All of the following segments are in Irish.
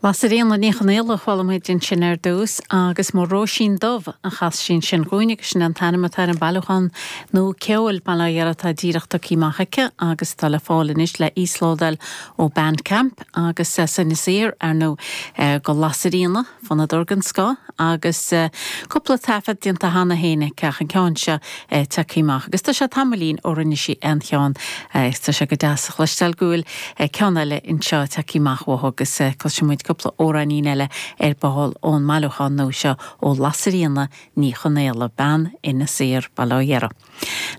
Lasairfhíona Ní Chonaola a chuala muid ansin ar dtús agus Mo Róisín Dubh a chas sí ansin dhúinn agus sin an t-ainm atá ar an bailiúchán nua ceoil, bail ó Dhia air, atá díreach tugtha amach aici agus atá le fáil anois le íoslódáil ó Bandcamp agus as Inis Oírr, ar ndóigh, do Lasairfhíona. Fonnadóir den scoth agus cúpla taifead déanta cheana féin aici ach an ceann seo tagtha amach agus tá sé tamaillín ó rinne sí aon cheann agus tá sé go deas a chloisteáil go bhfuil ceann eile anseo tagtha amach uaithi agus cloisfidh muid cúpla amhráinín eile ar ball ón mbailiúchán nua seo ó Lasairfhíona Ní Chonaola, bean Inis Oírr, bail ó Dhia uirthi.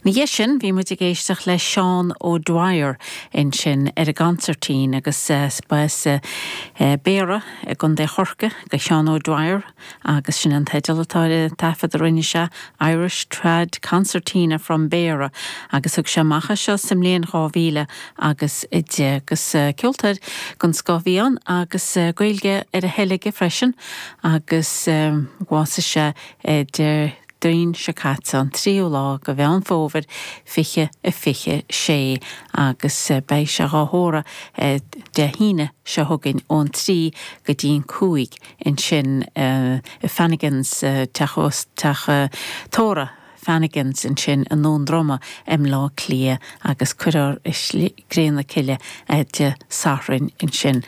Ina dhiaidh sin bhí muid ag éisteacht le Seán O'Dwyer ansin ar an gconsairtín agus ba as Béarra i gContae Chorcaí do Sheán O'Dwyer agus sin an teideal atá ar an taifead a rinne sé, Irish Trad Concertina from Beara agus thug sé amach é seo sa mbliain 2000 agus 10 agus ceoltóir den scoth a bhí ann agus Gaeilge ar a thoil aige freisin agus bhásaigh sé Dé Déardaoin seo caite, an tríú lá de Mheán Fómhair 2026 agus beidh sé dhá thórramh Dé hAoine seo chugainn ón 3 go dtí an 5 ansin i Fanagans, teach teach tórraimh Fanagans ansin i nDún Droma i mBleá Cliath agus cuirfear i gcré na cille é Dé Sathairn ansin.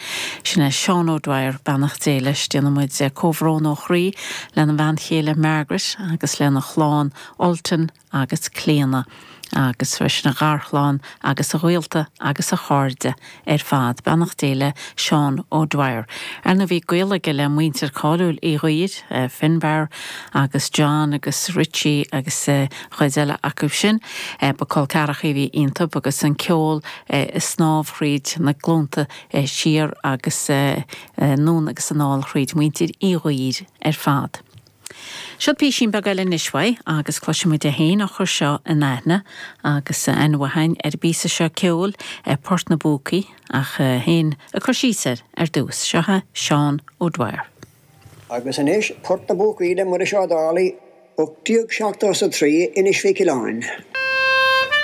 Sin é Seán O'Dwyer, beannacht Dé leis. Déanann muid comhbhrón ó chroí lena bhean chéile Margaret agus lena chlann Ultan agus Clíona agus freisin a gharchlann agus a ghaolta agus a chairde ar fad. Beannacht Dé le Seán O'Dwyer. Ar ndóigh bhí gaol aige le muintir cáiliúil Uí Dhuibhir, Finbarr agus John agus Richie agus chuid eile acu sin. Ba col ceathracha a bhí iontu agus an ceol ag snámh thríd na glúnta siar agus anonn agus anall thríd muintir Uí Dhuibhir ar fad. Seo písín beag eile anois uaidh agus cloisfidh muid é féin á chur seo in aithne agus aithne mhaith againn ar an bpíosa seo ceoil, Port na bPúcaí, ach é féin ag cur síos air ar dtús. Seo é Seán O'Dwyer. Agus anois Port na bPúcaí le Muiris Ó Dálaigh, 1873, Inis Mhic Oileáin.